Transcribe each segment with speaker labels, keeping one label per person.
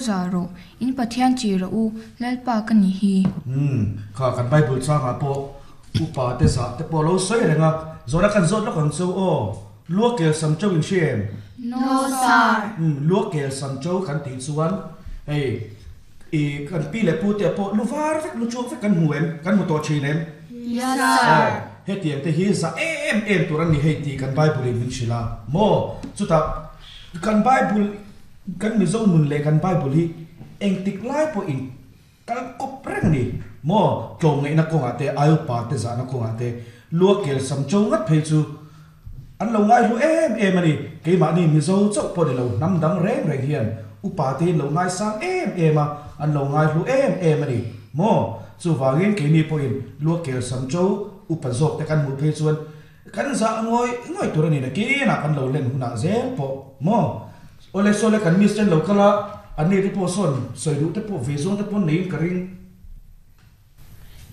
Speaker 1: Zah rawh, in Pathian ṭih rawh u, Lalpa ka nih hi.
Speaker 2: Umm, kha kan Bible changah pawh upa te zah te pawh lo sawi reng a, zawhna kan zawt lawk ang chu aw. Lua kel sam chau in hria em?
Speaker 1: No sir.
Speaker 2: Umm, lua kel sam chau kan tih chuan hei i kan pi leh pu te pawh lu var vek, lu chuak vek kan hmu em? Kan hmu tawh thin em?
Speaker 1: Yes sir.
Speaker 2: Aw, hetiang te hi zah em em tur an ni hei tih kan Bible in min hrilh a maw? Chutah kan Bible Kan Mizo nun leh kan Bible hi engtik lai pawhin kal kawp reng a ni maw? Tlawmngaihna kawngah te, Aiupa te zahna kawngah te, lua kel sam cho ngat phei chu an lo ngaihlu em em a ni. Keimahni Mizo chauh pawh ni lo, hnam dang reng reng hian upa te hi an lo ngaisang em em a, an lo ngaihlu em em a ni maw? Chuvangin keini pawhin lua kel sam cho upa zawk te kan hmuh phei chuan Kan zah ngawih ngawih tur a ni nakinah kan lo len hunah zel pawh maw? Awle sawle kan miss ten lo kal a, an ni te pawh sawn sawi duh te pawh ve zawng te pawh neiin ka ring.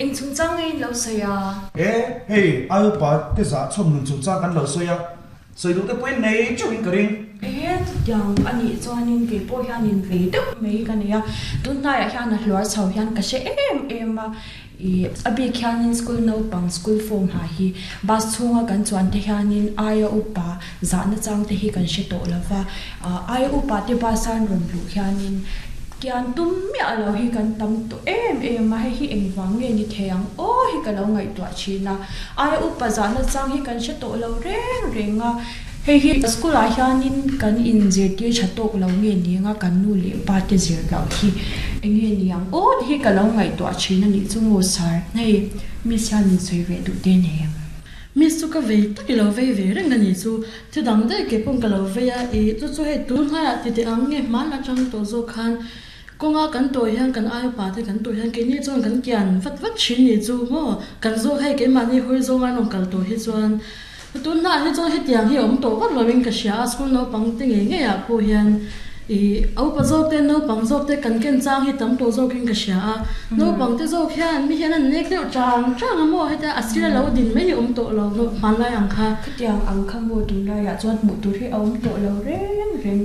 Speaker 3: Eng chungchang nge in lo sawi a?
Speaker 2: E, hei ai upa te zah chhawm nun chungchang kan lo sawi a, sawi duh te pawh in nei teuh in ka ring.
Speaker 3: E, chutiang a nih chuanin kei pawh hianin vei deuh mai ka nei a, tunhnaiah hian a hluar chho hian ka hre em em a, Ih, a bik hianin school naupang school form ha hi bus chhunga kan chuan te hianin aia upa zahna chang te hi kan hre tawh lo va, aia upa te bus a an rawn luh hianin kian tum miah lo hi kan tam tawh em em a, hei hi engvang nge ni thei ang aw hi ka lo ngaihtuah thin a, aia upa zahna chang hi kan hre tawh lo reng reng a. Hei hi school ah hianin kan inzirtir tha tawk lo nge ni anga kan nu leh pa te zir loh hi enge ni ang aw tih hi ka lo ngaihtuah thin a nih chu maw sir. Hei miss hian min sawi ve duh te nei em?
Speaker 4: Miss chu ka vei tak i lo vei ve reng a nih chu. Thi dang daih ke paw'n ka lo vei a, ih chu chu hei tun hnaiah ti teh ang nge hman atang tawh zawk khan kawnga kan tawh hian kan ai upa te kan tawh hian keini chuan kan kian vat vat thin nih chu maw kan zawk hei keimahni hawi zawnga an rawn kal tawh hi chuan Tunah hi chuan hetiang hi a awm tawh vak lovin ka hria a, school naupang te ngei ngei ah pawh hian ih a upa zawk te naupang zawk te kan ken chang hi tam tawh zawkin ka hria a, naupang te zawk hian mi hian an nek deuh chang chang a maw heta a sir a lo din mai hi a awm tawh lo hmanlai ang kha.
Speaker 3: Khatiang ang kha maw tunlaiah chuan hmuh tur hi a awm tawh lo reng reng.